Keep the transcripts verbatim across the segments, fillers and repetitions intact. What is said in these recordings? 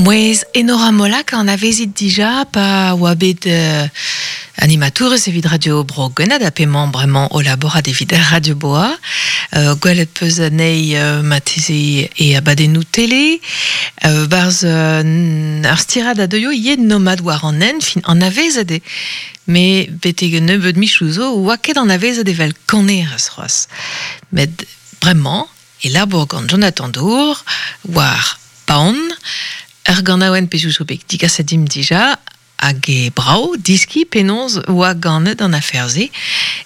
Mouez Enora Molac an avezit dija pa oa bet euh, animatourez evit Radio Bro Gwened a pemañ bremañ o laborat evit Radio Boa. Euh, gwelet peus anezhi euh, mateze e abadennoù tele. Euh, barz euh, ar stirad a deuio yen nomad war an en, fin an avezet e. Me betek un nebeud michou zo oa ket an avezet evel kanerez c'hoazh. Met bremañ e labour gant Jonathan Dour war paon ur ganaouenn pezoù zo bet digaset dimp dija hag e brao diski penaos oa ganet an aferze.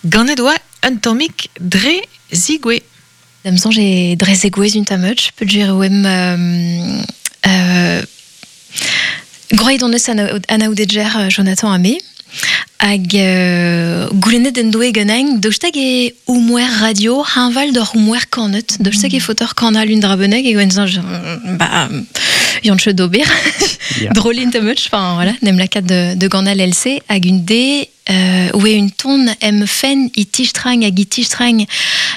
Ganet oa un tammig dre zigwe. Da'm soñj e dre zegouezh un tamm-eutch, peogwir oemp euh, euh, groet hon eus anaoudedger Jonathan ha me, hag euh, goulennet en doe ganin, daoust hag e oumouer radio, hañval d'hor oumouer kanet, daoust hag e faoter kanal un dra bennak, e gwen soñj, ba, yann cheut d'ober, Ya. drôle tamm-eutch, enfin voilà, nem lakaat de, de ganal L C, hag un de, euh, oe un ton em fen i tistrang hag i tistrang,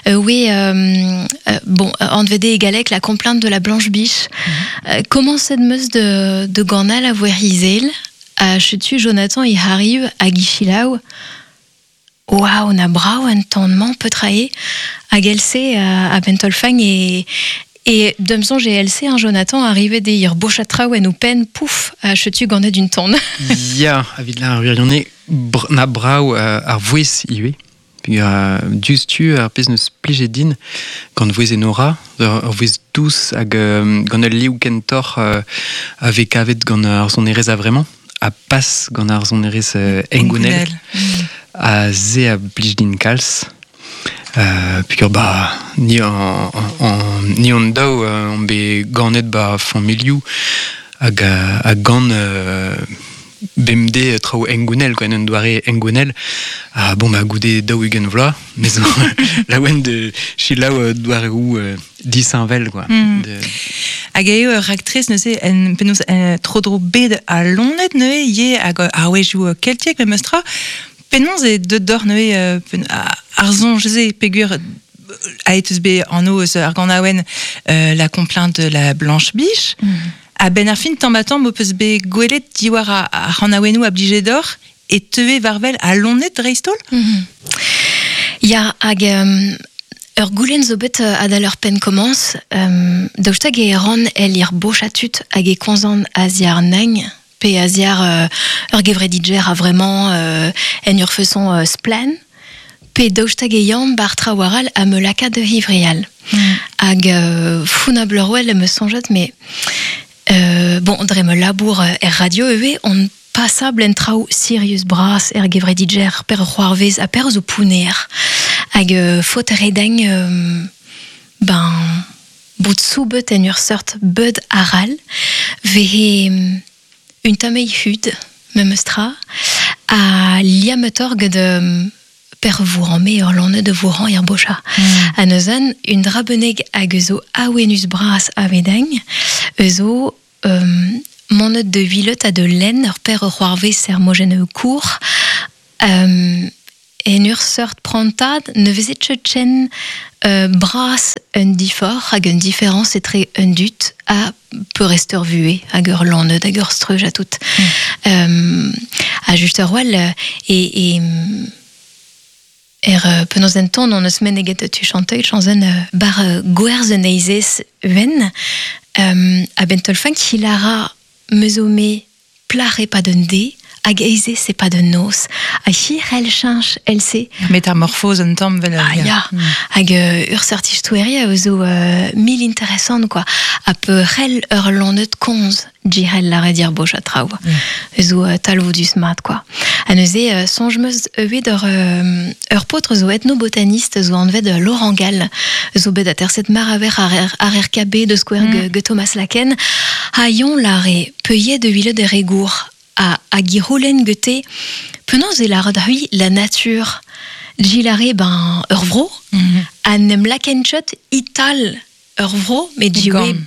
euh, oe, euh, euh, bon, an vede e galek la complainte de la Blanche Biche. Mm. Euh, comment cette meuse de, de ganal a voer izel, a chetu Jonathan i hariv hag i chilaou, waouh, na brao un ton man petrae, hag L C a, a bentolfang e, e da'm soñj e L C, hein, Jonathan, arrive de ir bochatraou en o pen, pouf, a chetu ganet d'un ton. Ya, evit la ar wirionez, br-, na brao, euh, ar vouez ivez. Peogwir, euh, diouzhtu ar pezh neus plijet din gant vouez Enora, ur, ur vouez dous hag, euh, gant ul liv kentoc'h, euh, a vez kavet gant ar sonerezh a vremañ, a pas gant ar sonerezh, euh, hengounel. Hengounel. Mm. A ze a blij din kalz. Euh, peogwir, ba, ni an, an, an, ni an daou, euh, on bet ganet ba familhoù hag, hag gant, euh, bemdez traoù hengounel, quoi, en un doare hengounel. Ah, bon, bah, goude daou ugent vloaz, mais laouen de selaou, euh, doareoù, euh, disheñvel, quoi. Mm. De Hag eo ur raktres neuze en penaos, euh, tro-dro bed a lonet neuze ivez hag ar wezhioù, euh, keltiek memes tra. Penaos e deut d'or neuze, euh, pen-, a, ar soñj-se peogwir aet eus bet an eus ar ganaouenn, euh, la complainte de la Blanche Biche. Mm. A ben ar fin tamm ha tamm ho peus bet gwelet diwar a, ar c'hanaouennoù a blije d'or e teue war-wel a lonet dreist-holl? Mm. Ya, hag, euh, ur goulenn zo bet, euh, adal ur penn komañs, euh, daoust hag e ran el ir bochatut hag e komzan a-ziàr nagn, pe a-ziàr, euh, ur gevredidjer a vraiment, euh, en ur façon, euh, splann, pe daoust hag e yann bar traoù a me laka de hivrial. Mm. Hag, euh, founabl ur wel me soñjet, mais, euh, bon, dre me labour, euh, er radio eo, on passable en traoù sirius bras er gevredidjer per c'hoarvez ha per zo pouner. Hag, euh, faot redeng, euh, ben, bout soubet en ur seurt beud aral, vehe un tamei hud, memes tra, a liametor gant, euh, per vouran, me ur lanne de vouran er bocha. Mm. A neuzen, un drabeneg hag eus o awenus bras a vedeng, eus o, euh, monet de vilet a de len ur per ur c'hoarvez ser mojen eo kour, euh, en ur seurt prantad ne vezet ket chen, euh, bras un difor hag un différence etre un dut a peurrest ur vuhez hag ur lanneud hag ur streuj a tout. Mm. Euh, a just ur wel, e, e, er, euh, penaos en ton on eus meneget tu chanteuil chanzen, euh, bar, euh, gwerz un eizez ven, euh, a ben tolfan ki lara mezome plar e pa d'un de, hag eizez e pa d'un noz, a hir el chinch el se. Métamorphose un tamm vel Ah, ya. ya. Mm. Hag, euh, ur seurt istoeria a zo, euh, mil interessant, quoi. A peu rel ur lanneud konz, djirel la redir boch a traoù. Mm. Zo, euh, talvoudus mat, quoi. A neuze, euh, sonj meus evet ur, euh, ur paotr zo ethnobotaniste zo anvet, euh, Laurent Gall, zo bet aterset maraver ar R-, ar R K B de Square Mm. ge, ge Thomas Laken, ha yon lare peuillet de huile de regour a, a giroulen gete penaos e lare da hui la nature. Gilare, ben, ur vro, Mm. a nem laken chot ital ur vro, met jiwe Gant.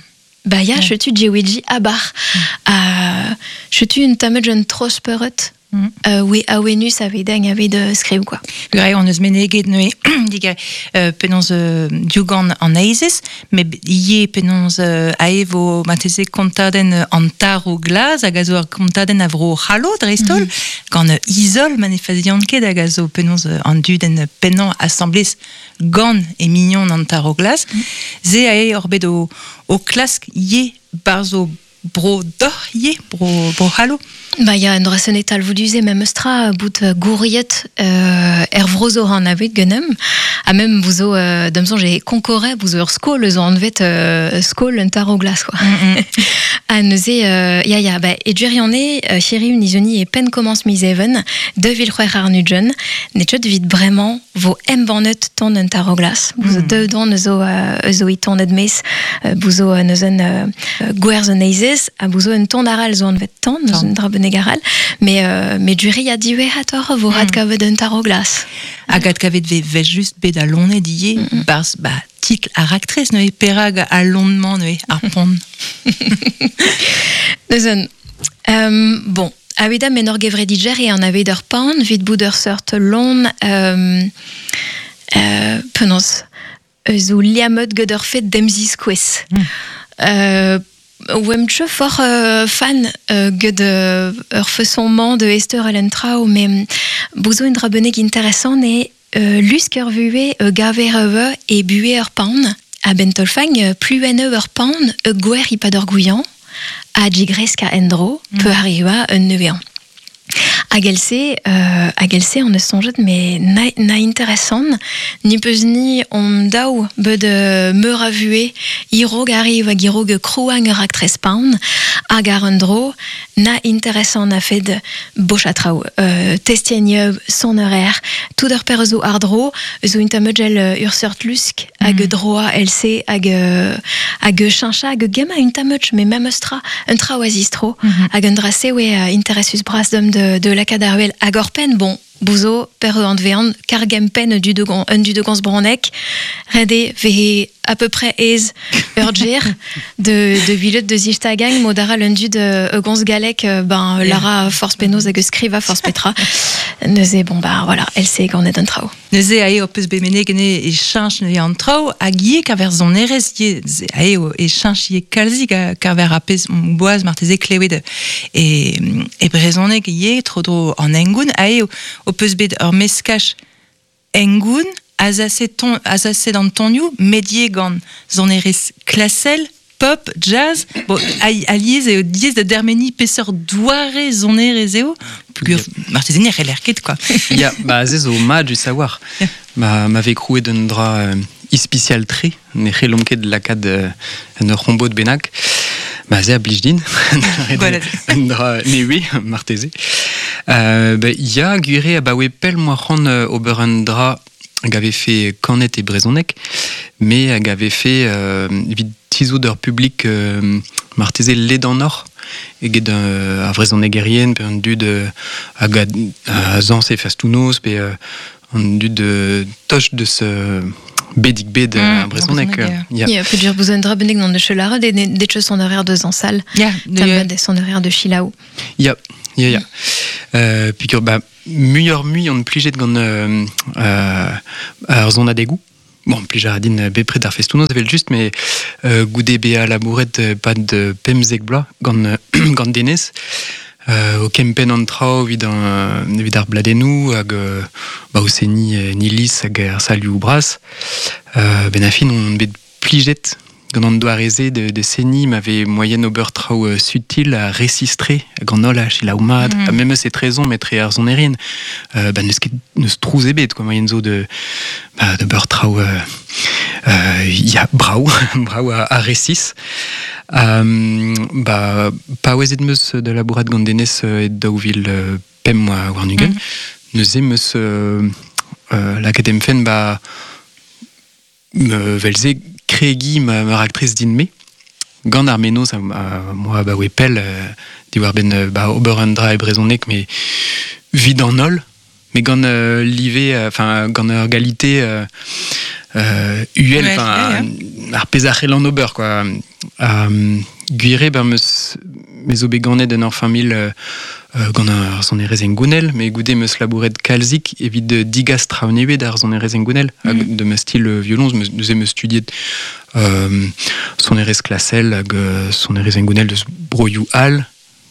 ba ya, Ouais. chetu jiwe ji abar. Mm. A, chetu un tamet jen tros peuret, mm. euh, oe awenus a vedeng a ved uh, skriv, quoi. Gure, on eus meneget neue diga euh, penaos euh, diougan an eizez, met ie penaos euh, ae vo mateze kontadenn an taro glaz hag a zo ar kontadenn a vro c'hallo dreist-holl, mm. gant euh, izol manefaziant ket hag a zo penaos euh, an dudenn pennañ asamblez gant e mignon an taro glaz. Mm. Ze ae ur bet o, o klask ie barzo bro dor ie, bro, bro c'hallo. Ba ya, en dra senet talvouduze mem eustra bout gouriet euh, er vrozo an avet genem, ha mem bouzo euh, da'm soñj e konkore bouzo ur skol eus an anvet euh, skol un taro glas, quoi. Mm -hmm. Ha neuze, euh, ya ya, ba, e dwirione, euh, chéri un izoni e pen komans miz even, deux vil c'hwec'h ar nugent, ne tchot vit bremañ vo embannet ton un taro glas. Bouzo mm -hmm. deux don eus o, euh, eus o iton edmez, euh, bouzo euh, neuzen euh, gwerz an eizez, ha bouzo un ton aral zo anvet ton, neus un dra benegaral, mais euh, mais duri a diwezhatoc'h vo rat kavet un taro glas. Hag ad kavet ve vel just bet a lonnet die, mm -hmm. barz, ba, titl ar aktrez neuze, perag a lonnement neuze, ar pont. Neuzen, um, bon, a men ur gevredidjer e an aved ur pan, vit bout ur seurt lon, euh, euh, penaos, eus o liammet gant ur fet demziskouez. Mm. Euh, Oem tche for euh, fan euh, gant euh, ur façon-man de Esther Ellen Trau, mais bouzo un dra bennek intéressant e euh, lusk ur vue euh, gaver ur e bue ur pan, a ben tolfang euh, pluenne ur pan e gwer i pad ur gouillan, a digresk a endro, mm. peu arriva un neuvean. Hag else, euh, hag else on eus soñjet, mais na, na intéressant, ni peus ni on daou bet euh, meur a vue, irog arriv hag irog krouang ur aktrez pan, hag ar un dro, na intéressant a fed bochatraou. Euh, testienneub, son horaire, tout ur per zo ar dro, zo intamedgel ur seurt lusk, hag mm. droa else, hag, hag chincha, hag gemma intamedj, mais même eustra, un tra oazistro, mm -hmm. hag un dra se oe uh, interessus bras dom de, de la kadarwel hag ur pen, bon, bouzo, per an vean, kargem pen du de un du de gans bronek, rede vehe à peu près aise ur djer de de vilet de zistagang modara un du de gons galek ben yeah. Lara force penaos hag skriva force petra neuze bon bah voilà elle sait gant un trao neuze ae o peus bemene gene e chinch neuze an trao hag ie kaver zonerez ie ae o e chinch ie kalzik kaver a pez boaz marteze klewet e e brezhoneg ie tro dro an engoun ae o, o peus bet ur meskaj engoun azase ton azase d'an tonioù medie gant zonerez klasel pop, jazz, bon, aliez eo diez da dermeni peseurt doare zonerez eo, pugur marteze ne c'heller ket, quoi. Ya, ba ze zo mat du savoir. Yeah. Ma m'avait krouet d'un dra euh, ispicial tre, ne c'hellomp ket lakaat euh, un ur c'hombo de bennak. Ba ze a blij din. Un dra newe, marteze. Euh, ba, ya, gwire a baoe pell moa c'hoant ober un dra hag avait fait kanet e brezhoneg, mais hag avait fait euh, evit tizout ur public euh, marteze ledan or, eget euh, ar vrezhonegerien, pe an dud euh, hag a, a zañs e fastounoz, pe euh, an dud euh, toch deus euh, bedig bed mm, a brezhoneg. Ya. Ya, pe dur bouzo un dra bennek de chelara, de, de, de son horaire de zansal, Ya, de son horaire de chilaou. Ya, ya, ya. Euh, pugur, ba, muioc'h mui on plijet gant euh, euh, ar zonadegou. Bon, plij a din bepred ar festounoz evel just, mais euh, goude bea labouret pad pemzek bloaz gant, gant denez, euh, o kempenn an traoù evit an, evit ar bladennoù hag euh, ba o seni nilis hag ar salioù bras. Euh, ben a fin on bet plijet gant an doareze de, de seni m'avait moyen ober traoù euh, sutil a resistre gant holl a chilaoumad, mm. ha memes e trezon metre ar zonerien. Euh, ba neus ket neus trouz ebet, quoi, moyen zo de ba, de beur traoù euh, euh, ya brao, brao a, a resis. Um, ba, paouezet meus de labourat gant denez e daou vil euh, pemp war warn-ugent. Mm. Neuze meus euh, euh, lakaet em fenn ba me velze kregi ma, ma raktres din me. Gant ar menoz a, a, moa ba oe pell euh, diwar ben ba ober un dra e brezhoneg, mais vid an holl, mais gant euh, live, enfin euh, gant ur galité euh, euh, uhel, enfin ar pezh a c'hell an ober, quoi. Um, gwire, ben meus me zo bet ganet en ur familh euh, gant ar sonerezh en gounel, me goude meus labouret kalzik evit digas traoù ar sonerezh en gounel, mm. hag de ma stil violons, meus meus studiet euh, sonerezh klasel hag sonerezh en gounel deus broioù all,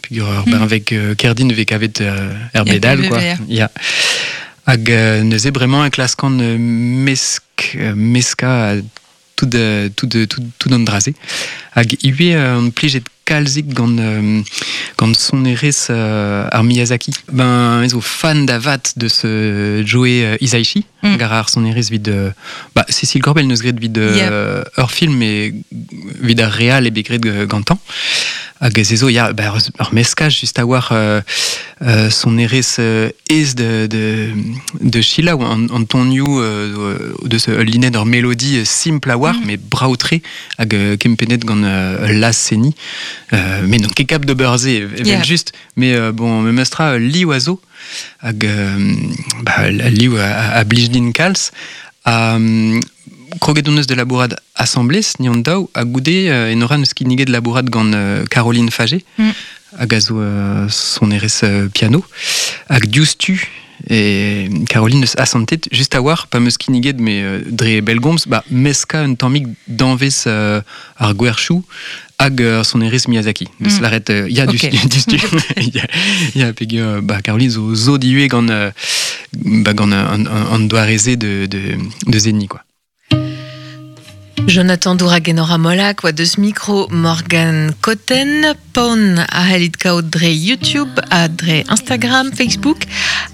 peogwir ur mm. avec kerdin vez kavet er bedal, quoi. Ya. Hag neuze bremañ e klaskan mesk, meska tout tout tout tout an draze. Hag ivez an plijet kalzik gant gant sonerezh ar Miyazaki. Ben zo fan da vat deus Joe Hisaishi, mm. gar ar sonerezh vid bah Cécile Corbel neus graet vid yeah. ur film e vid ar real e bet graet gantañ. Hag ez zo ya bah, ur meskaj just a war euh, euh, sonerezh euh, ez de de de Sheila an, an tonioù euh, deus ul linenn ur mélodie simple a war mm. mais braoutre hag euh, kempennet gant euh, la seni euh, mais non ket kap d'ober se evel yeah. just mais euh, bon me mestra liv a zo hag euh, bah, liv a, a blij din kalz a kroget on eus de labourad assemblés ni an daou a goude euh, en eus kinniget labourad gant euh, Caroline Faget mm. hag a zo euh, sonerezh euh, piano hag diouzhtu e Caroline eus asantet just a war pa meus kinniget me euh, dre belgomz ba meska un tammig danvez euh, ar gwerchou hag euh, sonerezh Miyazaki. Deus mm. laret euh, ya okay. diouzhtu ya ya peogwir ba Caroline zo zo dihuet gant euh, ba gant an, an, an doareze de de de zeni quoi. Jonathan Doura Molak, oa deus micro Morgan Cotten, pon a c'hellit kaout dre YouTube, a dre Instagram, Facebook,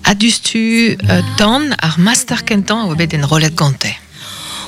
a dustu uh, tan ar master kentan a oa bet en rolet gante.